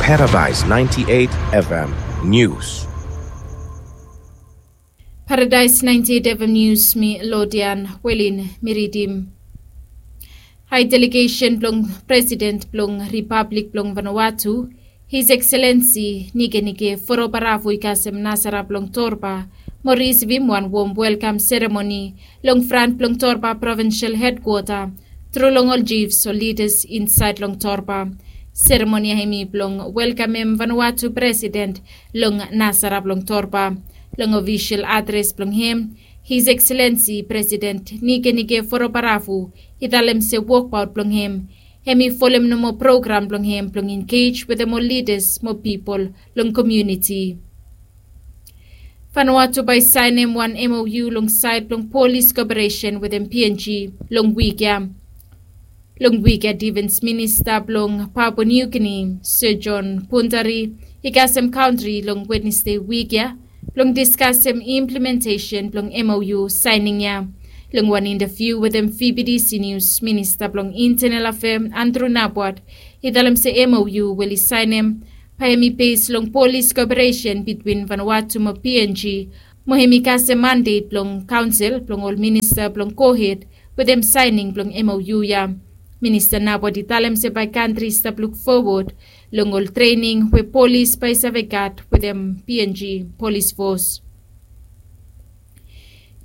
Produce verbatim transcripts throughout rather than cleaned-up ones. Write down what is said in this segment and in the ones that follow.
Paradise ninety-eight F M News. Paradise ninety-eight F M News, mi Lodian Welin, mi ridim. Hai delegesen blong President blong Ripablik blong Vanuatu, His Excellency Nikenike Vurobaravu, i kasem nasara blong Torba mo risivim wan wom welkam seremoni long fran blong Torba Provincial Headquarter tru long ol chiefs o lidas insaed long Torba. Seremoni ya hemi blong welkamem Vanuatu President long nasara blong Torba. Long ofisol adres blong hem, His Excellency President Nikenike Vurobaravu i talem se wokbaot blong hem hemi folem nomo program blong hem blong engej wetem ol lidas mo pipol long komuniti. Vanuatu bae i saenem wan M O U long saed blong polis koperesen wetem P N G long wik ya. Long wik ya, Defens Minista blong Papua New Guinea, Sir John Pundari, i kasem kantri long Wednesde wik ya blong diskasem implementesen blong M O U saening ya. Long wan intaviu wetem V B T C News, Minista blong Intenal Afea Andrew Nabwat i talem se M O U we oli saenem bae hemi bes long polis koperesen bitwin Vanuatu mo P N G, mo hemi kasem mandet blong kaonsel blong ol minista blong gohed wetem saening blong M O U ya. Minista Nabwat i talem se bae kantri i stap luk fowod long ol trening we polis bae i save gat wetem P N G polis fos.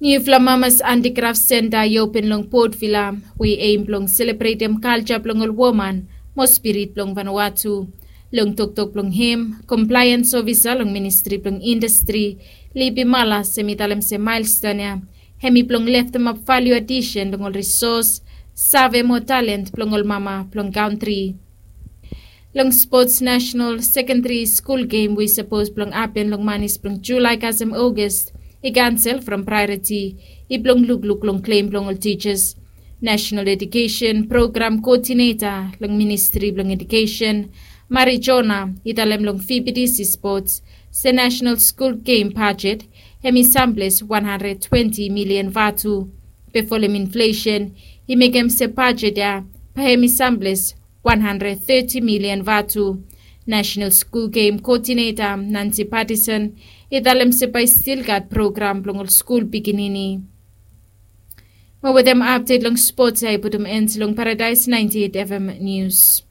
Niufala Mamas Antikraf Senta i open long Port Vila, we i eim blong selebretem kalja blong ol woman mo spirit blong Vanuatu. Long toktok blong hem, komplaeans ofisa long Ministri blong Indastri, Lipi Malas, hemi talem se maelston ya hemi blong leftemap valiu adisen long ol risos, save mo talen blong ol mama blong kantri. Long spots, Nasenal Sekendari Skul Gem we i sapos blong hapen long manis blong Julae kasem Ogas i kansel from praeoriti i blong lukluk long klem blong ol tijas. Nasenal Edukesen Program Koodineta long Ministri blong Edukesen, Mari Jona, i talem long V B T C Spots se Nasenal Skul Gem bajet hemi samples wan handred twenti milian vatu. Be folem inflesen i mekem se bajet ya bae hemi samples wan handred teti milian vatu. Nasenal Skul Gem Koodineta Nancy Patterson i talem se bae i stil gat program blong ol skul pikinini. Mo wetem apdet long spots ya i putum en long Paradaes naenti et F M Nius.